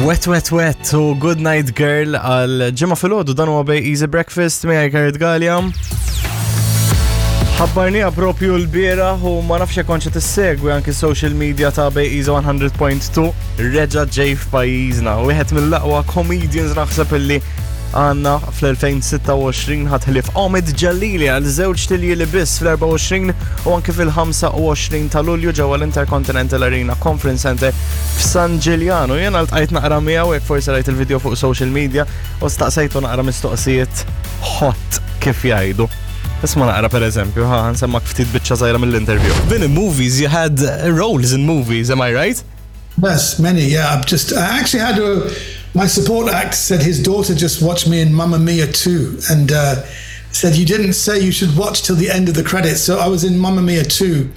Wet Wet Wet u Good Night Girl għal ġimgħa filgħodu dan huwa bej Easy Breakfast miegħi Karit Gallia. Ħabbarniha propju l-bieraħ u ma nafx jekk kontx qed issegwi anki social media ta' Bej Easy 100.2 reġa' ġej f'pajjiżna. Wieħed mill-aqwa comedians naħseb illi għanna fl-2026 ħatħlif Omid Ġalili għal żewġ tilji li biss fl-24 u anki fil-25 ta' Lulju ġewwa l-Intercontinental Arena Conference Center f'San Ġiljanu. Jena ltqajt naqra miegħu jekk forsi rajt il-video fuq social media u staqsejtu naqra mistoqsijiet hot kif jgħidu. Isma naqra per eżempju, ħa nsemmak ftit biċċa żgħira mill-interview. Been in movies, you had roles in movies, am I right? Yes, many. Yeah, I've just I actually had a my support act said his daughter just watched me in Mamma Mia 2 and said you didn't say you should watch till the end of the credits. So I was in Mamma Mia 2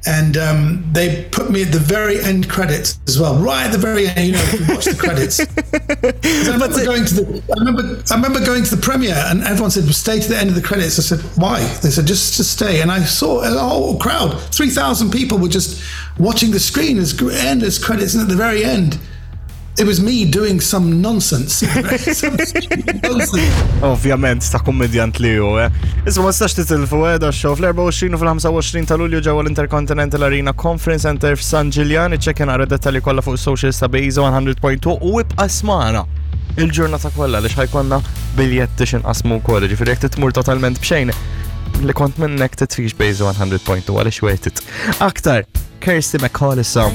and they put me at the very end credits as well, right at the very end. You know, watch the credits. I remember going to the, I remember, I remember going to the premiere, and everyone said, well, "Stay to the end of the credits." I said, "Why?" They said, "Just to stay." And I saw a whole crowd, 3,000 people were just watching the screen as endless credits, and at the very end, it was me doing some nonsense. Ovvjament, ta' kummedjant li ju, eh. Isma ma stax titilfu, eh, da show fl-24 u fil-25 ta' Lulju ġewwa l-Intercontinental Arena Conference Center f'San Ġiljan, iċċekkja naqra dettalji kollha fuq social ta' Bejza 100.2 u ibqa' smana il-ġurnata kollha li ħajkonna biljetti x'inqasmu wkoll, ġifieri jekk titmur totalment b'xejn li kont minnek titfix Bejza 100.2 għaliex worth it. Aktar, Kirsty McCall issa.